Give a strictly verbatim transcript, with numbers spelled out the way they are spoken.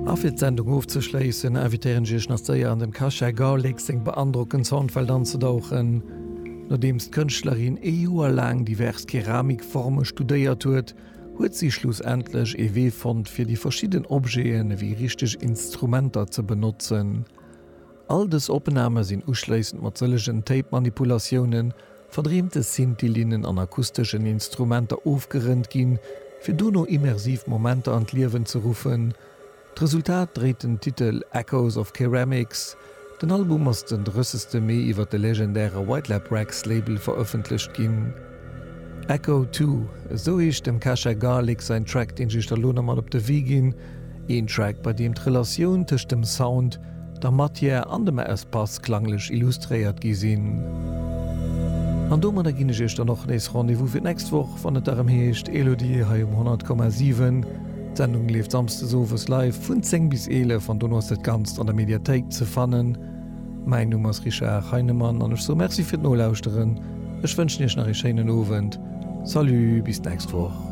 A fir d'Sendung ofzeschléissen, invitéieren ech iech nach séier an dem Kasia Garlic seng beandrockend Soundwelt anzedauchen. Nodeems d'Kënschtlerin ee Joer laang divers Keramikforme studéiert huet, huet si schlussendlech ee Wee fonnt, fir déi verschidden Objeten ewéi richteg Instrumenter ze benotzen. All dës Opname sinn uschléissend mat sëllegen Tape-Manipulatiounen, verdreemte Synthi-Linnen an akusteschen Instrumenter ofgerënnt ginn, fir dono immersiv Momenter an d'Liewen ze ruffen. D'Resultat dréit den Titel Echoes of Ceramics. Den Album ass den drëssegste Mee iwwer de legendäre White Lab Recs Label verëffentlecht ginn. Echo Two, esou heescht dem Kasia Garlic säin Track, deen ech iech da lo nach mat op de Wee ginn. Een Track, bei deem d'Relatioun tëscht dem Sound, der Matière an dem Espace klanglech illustréiert gi sinn. An domadder ginn ech iech dann och nees Rendez-vous fir d'nächst Woch, wann et erëm heescht Elodie hei um honnert Komma siwen. D'Sendung leeft samsdes owes live vun zéng bis eelef an dono ass dat Ganzt an der Mediathéik ze fannen. Mäin Numm ass Richard Heinemann an ech soe Merci fir d'Nolauschteren. Ech wënschen iech nach ee schéinen Owend. Salut, bis d'nächst Woch.